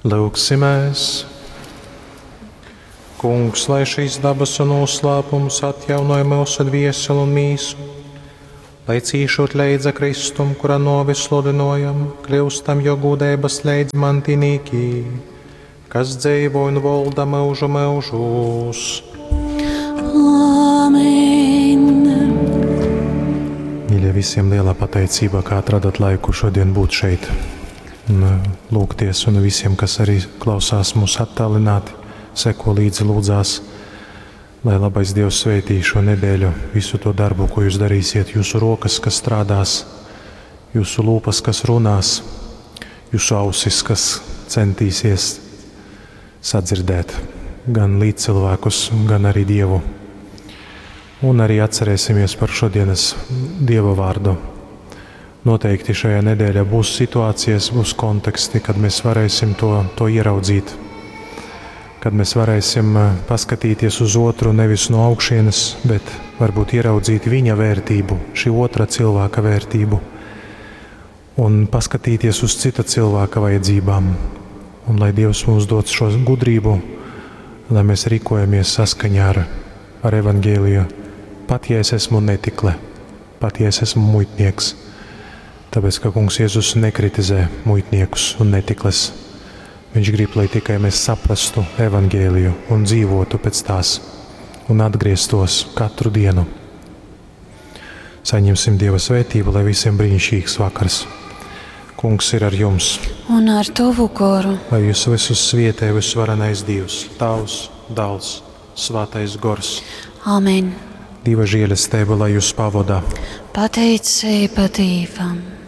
Lūgsimies! Kungs, lai šīs dabasu noslēpums atjaunoja mūsu dvieseli un mīsu, lai cīšot leidza Kristum, kura novi sludinojam, kļūstam jo gūdeibas leidzmantinīki, kas dzīvo un volda mūžu mūžūs. Āmen! Mīļie, visiem lielā pateicība, ka atradat laiku šodien būt šeit un lūgties, un visiem, kas arī klausās mūs attālināti, seko līdzi, lūdzās, lai labais Dievs svētī šo nedēļu, visu to darbu, ko jūs darīsiet, jūsu rokas, kas strādās, jūsu lūpas, kas runās, jūsu ausis, kas centīsies sadzirdēt gan līdzcilvēkus, gan arī Dievu. Un arī atcerēsimies par šodienas Dieva vārdu. Noteikti šajā nedēļā būs situācijas, būs konteksti, kad mēs varēsim to, to ieraudzīt. Kad mēs varēsim paskatīties uz otru nevis no augšienes, bet varbūt ieraudzīt viņa vērtību, šī otra cilvēka vērtību, un paskatīties uz cita cilvēka vajadzībām. Un lai Dievs mums dod šo gudrību, lai mēs rīkojamies saskaņā ar, ar evaņģēliju, pat ja es esmu netikle, pat ja es esmu muitnieks. Tāpēc, ka Kungs Jēzus nekritizē muitniekus un netikles. Viņš grib, lai tikai mēs saprastu evaņģēliju un dzīvotu pēc tās un atgrieztos katru dienu. Saņemsim Dieva svētību, lai visiem brīnišķīgs vakars. Kungs ir ar jums, Un ar tavu goru. lai jūs visus svietē visvarenais Dievs, Tavs, Dāls, Svētais Gors. Āmen! Dieva žēlastība, lai jūs pavadā. Pateicība Dievam!